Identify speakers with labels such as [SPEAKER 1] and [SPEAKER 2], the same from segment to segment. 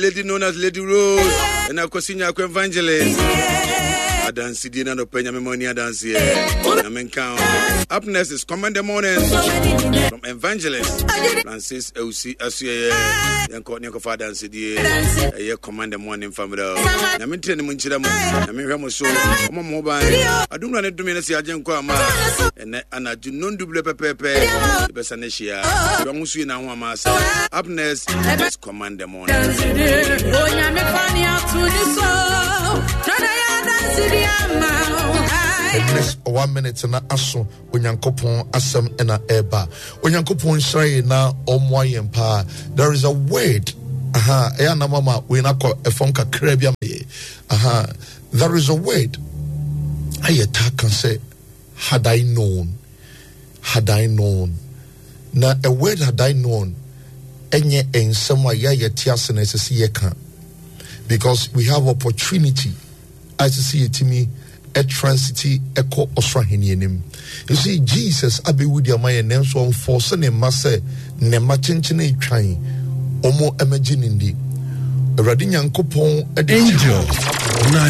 [SPEAKER 1] Lady known as Lady Rose ɛna Kwasi Nyako Evangelist. Adansidie na nɔpɛ nyame ma ni adanseɛ. Nyame nka ho. Up next is Command the Morning from Evangelist Francis Eusi Asuɛyɛ. Yɛnkɔ ne yɛnkɔfa adansidie. Ɛyɛ Command the Morning family. Nyame ntina ne mu nkyerɛ mo. Nyame nhwɛ mo so. Ɔmɔ mo ho ban. Adumra ne dome ne se agye nkɔ ama. Ɛnɛ anadwo nondu berɛ pɛpɛɛpɛ. Yɛbɛsa ne hyia. Dɔn ho sue na ho ama asa. Up next is Command the Morning.
[SPEAKER 2] Next one minute na aso Onyankopɔn asɛm na ɛba. Onyankopɔn nhyira yɛn na ɔmmoa yɛn paa. There is a word. Aha, ɛyɛ anam ama wei na akɔ ɛfam kakra bi ama yɛ. Aha, there is a word. Ayɛ taa ka sɛ had I known, had I known. Na a word had I known ɛnyɛ nsɛm a yɛ a yɛte ase na ɛsɛ sɛ yɛka because we have opportunity a ɛsɛ sɛ yɛtumi transiti ɛkɔ ɔsoro ahenni anim. You see, Jesus abɛwu de ama yɛn nanso ɔmfɔɔse ne mma sɛ ne mma kyenkyene twan wɔn ɛmɛgye ne ndi. Awurade Nyankopɔn de
[SPEAKER 3] Angel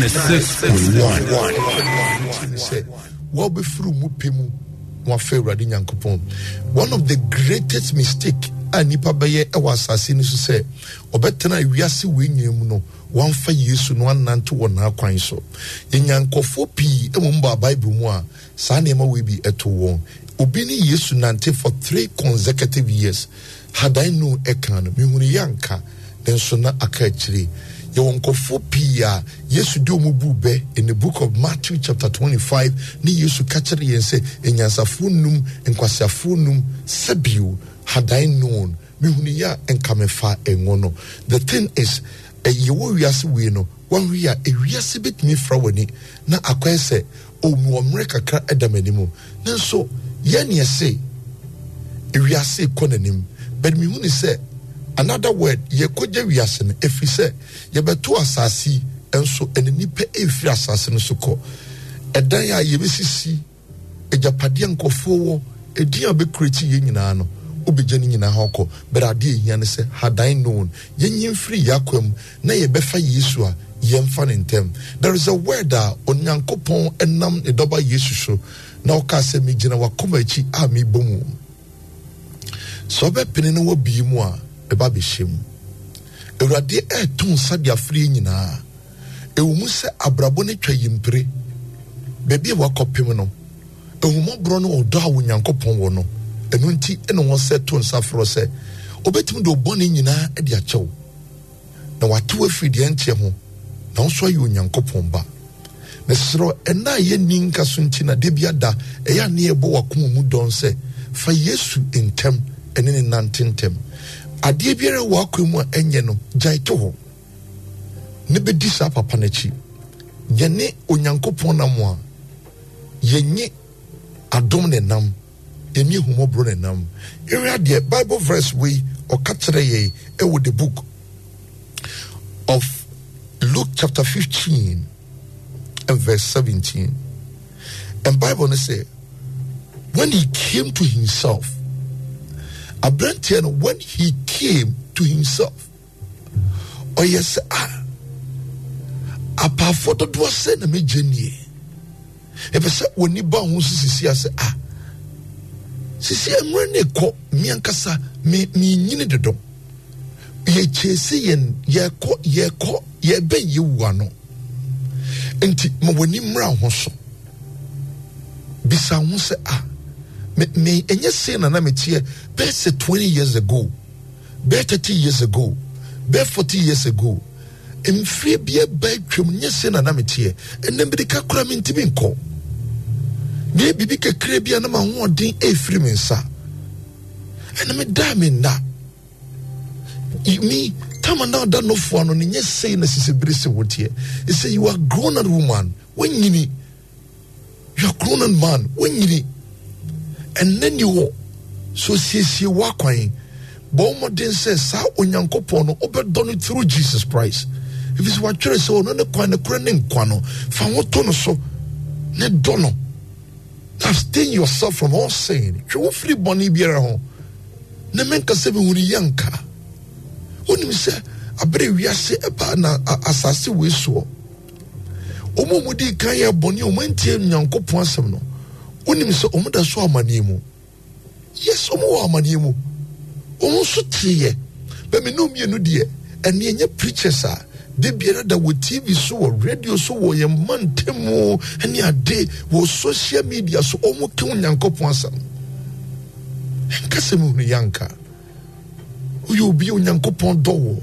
[SPEAKER 3] 96.1
[SPEAKER 2] sɛ wɔbɛfiri mu pɛ mu na wafa Awurade Nyankopɔn. One of the greatest mistake a nipa bɛyɛ ɛwɔ asase no so sɛ ɔbɛtena wiase wei nyina mu no wamfa Yesu no annante wɔ n'akwan so. Yɛnya nkurɔfoɔ pii mmom baa Bible mu a saa nneɛma wei bi too wɔn. Obi ne Yesu nante for three consecutive years. Had I known ɛka no, mehunuiɛ anka, nanso na aka akyire. Yɛwɔ nkurɔfoɔ pii a Yesu de wɔn buu bɛ in the book of Matthew chapter 25 ne Yesu ka kyerɛ yɛn sɛ anyansafoɔ num, nkwaseafoɔ num, sɛbio, had I known, Mehunuiɛ a nka mefaa ngo no. The thing is, yɛwɔ wiase wei no, woanhwɛ a ewiase bɛtumi afira w'ani na akɔyɛ sɛ, oh, mewɔ mmerɛ kakra da m'anim. Nanso yɛn ne yɛse ewiase rekɔ n'anim. But mehu ne sɛ, another word, yɛkɔgya wiase no, ɛfiri sɛ yɛbɛto asase yi nso ɛne nnipa ɛrefiri asase no so kɔ. Ɛdan a yɛbɛsisi Agyapadeɛ a nkurɔfoɔ wɔ, edin a bɛcreate yei nyinaa no, wobɛgya ne nyinaa hɔ akɔ. But adeɛ a ɛhia ne sɛ, had I known, yɛnyi mfiri yɛn akwan mu na yɛbɛfa Yesu a, yɛmfa no ntɛm. There is a word a Onyankopɔn nam ne dɔba Yesu so na ɔkaa sɛ, megyina w'akoma akyi a mebɔ mu. Sɛ ɔbɛpene na wabue mu a, mɛba abɛhyɛ mu. Awurade ɛreto nsa de afrɛ yɛn nyinaa. Ɛwɔ mu sɛ abrabɔ no atwa yimpire, baabi a wakɔpem no, ahummɔborɔ ne ɔdɔ a Onyankopɔn wɔ no, ɛno nti na wɔsɛ to nsa frɛ sɛ ɔbɛtumi de wo bɔne nyinaa de akyɛ wo, na wate wo afiri deɛ ɛnteɛ ho, na wo nso ayɛ Onyankopɔn ba. Mesrɛ wo, ɛnna a yɛnni nka so nti na da bi ada ɛyɛ a ne yɛbɔ w'akoma mu dɔn sɛ fa Yesu ntɛm ɛne ne nante ntɛm. Adeɛ biara wɔ w'akwan mu a ɛnyɛ no, gyae to hɔ. ne bɛdi saa papa no akyi. Yɛne Onyankopɔn nam a, yɛnye adom ne nam, yɛne ahummɔborɔ ne nam. Yɛhwɛ adeɛ, Bible verse wei ɔka kyerɛ yɛn ɛwɔ the book of Luke chapter 15 and verse 17. And Bible no sɛ, when he came to himself, aberanteɛ no, when he came to himself, ɔyɛ sɛ a apaafoɔ dodoɔ sɛ na megye nie ɛpɛ sɛ wɔni ba ho so sisi ase a sisi mmerɛ ne kɔ me ankasa me menyini dodo yɛkyɛsi yɛn yɛkɔ yɛkɔ yɛbɛn yɛwu ano nti ma w'ani mmra ho so bisa ho sɛ a me me ɛnyɛ sei na na meteɛ bɛyɛ sɛ 20 years ago Bɛyɛ 30 years ago, bɛyɛ 40 years ago, mfie bi aba atwam nyɛ sɛ na na meteɛ. Ɛnɛ mmirika koraa mentumi nkɔ. Meyɛ biribi kakra bi a na m'ahoɔden ɛrefiri me nsa. Ɛna medaa me nna. Me tama na ɔda nofoa no ne nyɛ sei na sisi bere sɛ woteɛ. Ɛsɛ you are grown up woman. Wanyini. You are grown man. Wonyini. Ɛnnɛ ni hɔ. So siesie w'akwan. Bɔ mmɔden sɛ saa Onyankopɔn no wobɛdɔ no through Jesus Christ. Ɛfiri sɛ watwerɛ sɛ ɔno ne kwan ne korɛ ne nkwa no. Fa ho to no so ne dɔ no. Abstain yourself from all sin. Twe wo firi bɔne biara ho. Na menka sɛ mehunu yɛ nka. Wonim sɛ Abere wiase ɛbaa na asase wei soɔ, wɔn a wɔdi kan yɛ bɔne a wɔn antie Nyankopɔn asɛm no, wonim sɛ wɔn da so amaneɛ mu. Yes, wɔn wɔ amaneɛ mu. Wɔn nso teeɛ. Bɛ me ne mmienu deɛ, ɛne ɛnyɛ preachers a de biara da wɔ TV so, wɔ radio so, wɔ yɛn mantamu ne ade, wɔ social media so, wɔn ka Onyankopɔn asɛm. Ɛnka sɛ mehunu yɛ anka. Woyɛ obi a Onyankopɔn dɔ wo.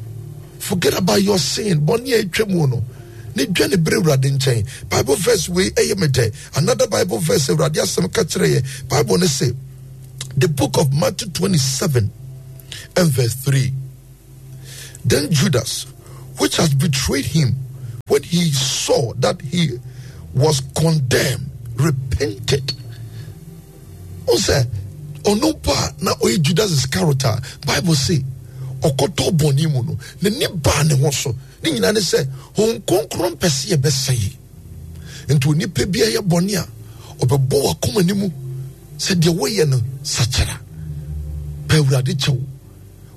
[SPEAKER 2] Forget about your sin. Bɔne a atwa mu no. Ne dwa ne bere Awurade nkyɛn. Bible verse wei ɛyɛ me dɛ. Another Bible verse Awurade asɛm ka kyerɛ yɛ. Bible ne se, the book of Matthew 27 and verse 3. Then Judas, which has betrayed him, when he saw that he was condemned, repented. Wohu sɛ ɔno mpo a na ɔyɛ Judas Iscariot a Bible se ɔkɔtɔ bɔne mu no, n'ani baa ne ho so. Ne nyinaa ne sɛ Honhom Kronkron mpɛ sɛ yɛbɛsɛe. Nti onipa bi yɛ bɔne a, ɔbɛbɔ w'akoma no mu sɛ deɛ woyɛ no sakyera. Pɛ Awurade kyɛw.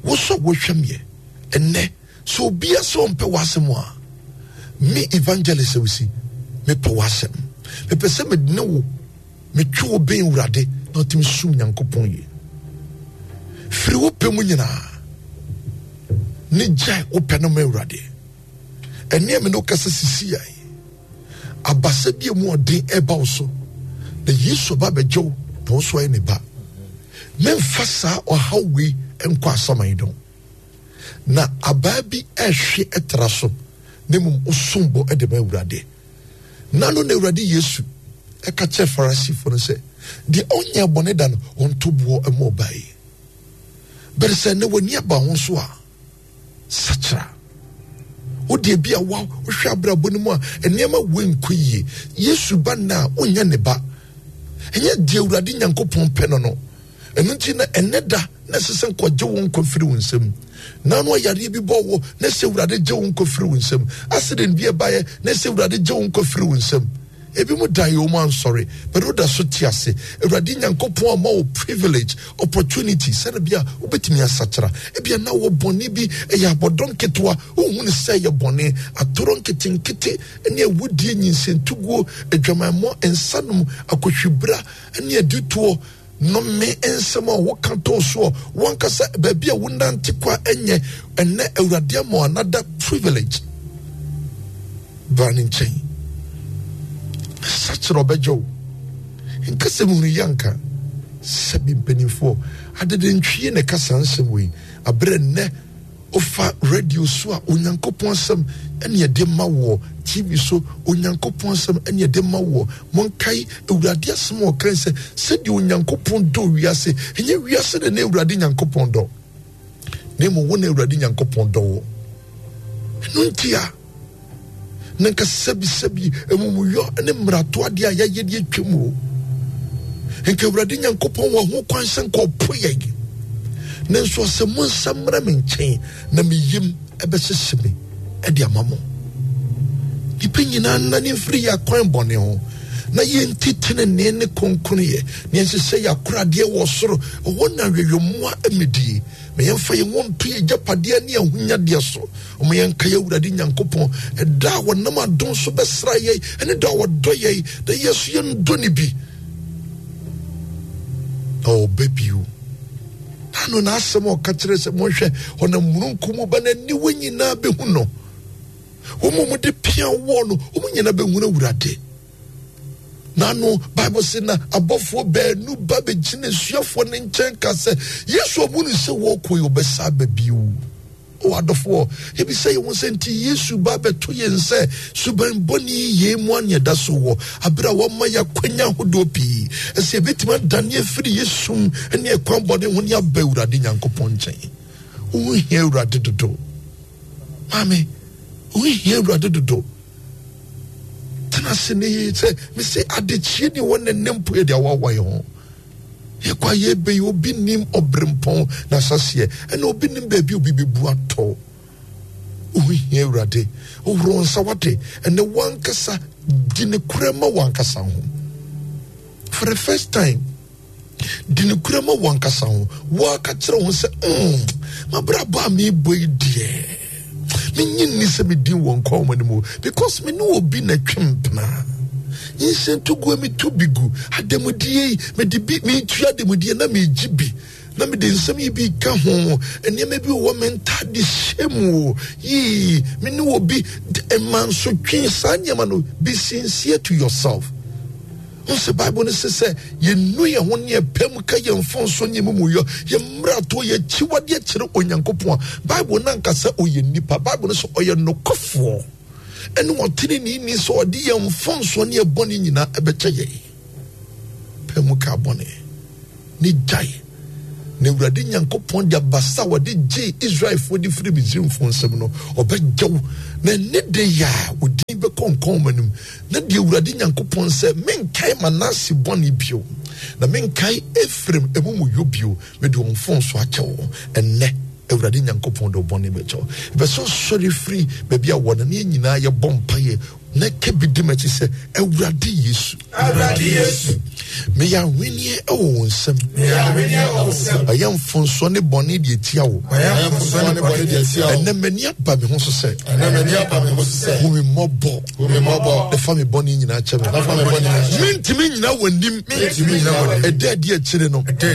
[SPEAKER 2] Wo so wohwɛ meɛ ɛnnɛ sɛ obia sɛ ɔmpɛ w'asɛm a, me evangelist awusi mepɛ w'asɛm. Mepɛ sɛ mene wo Metwe wo bɛn Awurade na ɔtumi som Nyankopɔn yie. Firi wo pɛ mu nyinaa ne gyae wo pɛ no ma Awurade. Ɛne me ne wo kasa sisi yɛ abasa bi mu ɔden ɛba wo so na Yesu ba bɛgye wo na wo so ayɛ ne ba. Memfa saa ɔhaw wei nkɔ asaman dɔn. Na abaa bi ɛhwe ɛtra so na mmom osom bo de ma Awurade. Na no na Awurade Yesu ɛka kyerɛ Farisifoɔ no sɛ, deɛ ɔnyɛ bɔne da no, ɔnto boɔ mmɔ ɔbaa yi. Bɛrɛ sɛ na w'ani aba ho so a, sakyera. Wo deɛ bi a wa wohwɛ abrabɔ no mu a nneɛma wei nkɔ yie. Yesu ba nna a wonyɛ ne ba. Ɛnyɛ deɛ Awurade Nyankopɔn pɛ no no. Ɛno nti na ɛnɛ da na ɛsɛ sɛ nkɔgye wo nkwa firi wo nsam. Na ano ayareɛ bi bɔ wo na ɛsɛ Awurade gye wo nkwa firi wo nsam. Accident bi ɛbaeɛ na ɛsɛ Awurade gye wo nkwa firi wo nsam. Ebi mu daeɛ wɔn ansɔre, but woda so te ase. Awurade Nyankopɔn ama wo privilege, opportunity, sɛne bi a wobɛtumi asakyera. Ebia na wɔ bɔne bi, ɛyɛ abɔdɔ nketewa, wohu no sɛ ɛyɛ bɔne, atoro nketenkete, ne awudie, nyinsɛntuguo, adwamammɔ, nsanom, akɔhwibra, ne aditoɔ, Nnome nsɛm a woka too soɔ wankasa baabi a wonante kɔ a ɛnyɛ ɛnɛ Awurade ama wo another privilege bra ne nkyɛn sakyerɛ ɔbɛgye wo nka sɛ mehunu yi anka sɛbi mpanimfoɔ adedentwie na ɛka saa nsɛm wei aberɛ nnɛ Wofa radio so a, Onyankopɔn asɛm ɛne ɛde ma woɔ. TV so, Onyankopɔn asɛm ɛne ɛde ma woɔ. Monkae Awurade asɛm a ɔkae sɛ, sɛdeɛ Onyankopɔn dɔ wiase, ɛnyɛ wiase na na Awurade Nyankopɔn dɔ, na mmom wo na Awurade Nyankopɔn dɔ wo. Ɛno nti a, na nka sɛbisɛbi amumuyɔ ne mmarato adeɛ a yɛayɛ de atwam o nka Awurade Nyankopɔn wɔ ho kwan sɛ nka ɔpo yɛn nanso ɔsɛ mo nsa mmra me nkyɛn na me yam ɛbɛhyehye me ɛde ama mo. Nnipa nyinaa nnane mfiri yɛ akwan bɔne ho na yɛnti tenenee ne kronkronyɛ na yɛnhyehyɛ yɛ akoradeɛ wɔ soro ɛhɔ na awɛwɛmmoa mmɛdie. Ma yɛmfa yɛn ho nto yɛn agyapadeɛ ne ahonyadeɛ so. Ɔma yɛnkae Awurade Nyankopɔn ɛda a wɔnam adom so bɛsra yɛn ɛne dɔ a wɔdɔ yɛn na yɛn so yɛndɔ ne bi. Na ɔba bio. Ano n'asɛm a ɔka kyerɛ sɛ monhwɛ ɔnam mununkum mu ba n'aniwa nyinaa bɛhu no. Wɔn a wɔde pia wɔɔ no wɔn nyinaa bɛhunu Awurade. Na no Bible se na abɔfoɔ baanu ba bɛgyina asuafoɔ no nkyɛn ka sɛ Yesu ɔmu no sɛ wɔkɔ yi ɔbɛsa aba bio. O adɔfoɔ, yɛbisa yɛn ho sɛ nti Yesu ba bɛto yɛn sɛ suban bɔne yi yɛn mu aneɛ da so wɔ abere a wɔma yɛ akwanya ahodoɔ pii ɛsɛ yɛbɛtumi adane afiri yɛ sum ne ɛkwan bɔne ho ne aba Awurade Nyankopɔn nkyɛn. Wo hia Awurade dodo. Maame, wo hia Awurade dodo. Tena ase ne yie sɛ mese adekyeɛ ni wɔ ne ne mpo yɛde awawa yɛn ho. Yɛkɔ a yɛbɛ yi obi nim ɔberempɔn n'asaseɛ ɛna obi nim baabi obi bɛbu atɔ. Wohu hia Awurade. Wohoro nsa wate ɛnɛ wankasa di ne korɛ ma wankasa ho. For the first time di ne korɛ ma wankasa ho. Waka kyerɛ ho sɛ mm, mabrabɔ a mebɔ yi deɛ. Menye nni sɛ me din wɔ nkwa nwoma no mu because me ne obi na twe mpena. Nhyɛntoguo meto bi gu adamudeɛ yi mede bi metua adamudeɛ na megye bi na mede nsɛm yi bi ka ho nneɛma bi wɔ me ntade hyɛ mu o yii me ne obi mansotwe saa nneɛma no. Be sincere to yourself. Wohu sɛ Bible no se sɛ yɛnu yɛn ho ne yɛpɛ mu ka yɛn mfomso ne yɛn mumuyɔ, yɛn mmarato, yɛn akyiwadeɛ kyerɛ Onyankopɔn a, Bible no anka sɛ ɔyɛ nnipa. Bible no sɛ ɔyɛ nokwafoɔ ɛne ɔteneneeni sɛ ɔde yɛn mfomsoɔ ne yɛn bɔne nyinaa ɛbɛkyɛ yɛn. Pɛ mu ka bɔne ne gyae. Na Awurade Nyankopɔn de abasa a wɔde gyee Israelfoɔ de firi Misraimfoɔ nsam no, ɔbɛgye wo. Na ɛne de yɛ a, wo din bɛkɔ nkɔnma no mu. Na deɛ Awurade Nyankopɔn sɛ, menkae Manase bɔne bio, na menkae Efraim amumuyɔ bio, mede wɔn mfomso akyɛ wo. Ɛnnɛ, Awurade Nyankopɔn de wo bɔne bɛkyɛ wo. Ɛpɛ sɛ ɔsɔre firi baabi a wɔ no, ne yɛn nyinaa yɛbɔ mpaeɛ na ka bi di m'akyi sɛ, Awurade Yesu.
[SPEAKER 3] Awurade Yesu.
[SPEAKER 2] Meyɛ ahweneɛ wɔ wo nsam.
[SPEAKER 3] Meyɛ ahweneɛ wɔ wo nsam.
[SPEAKER 2] Mayɛ mfomsoɔ ne bɔne deɛ tia wo.
[SPEAKER 3] Mayɛ mfomsoɔ ne bɔne deɛ tia wo.
[SPEAKER 2] Ɛnɛ m'ani aba me ho so sɛ.
[SPEAKER 3] Ɛnɛ m'ani aba me ho so sɛ.
[SPEAKER 2] Hu me mmɔbɔ.
[SPEAKER 3] Hu me mmɔbɔ.
[SPEAKER 2] Na fa me bɔne nyinaa kyɛ me.
[SPEAKER 3] Na fa me bɔne nyinaa kyɛ me.
[SPEAKER 2] Mentumi nnyina w'anim.
[SPEAKER 3] Mentumi nnyina w'anim.
[SPEAKER 2] Ɛda adi akyire no.
[SPEAKER 3] Ɛda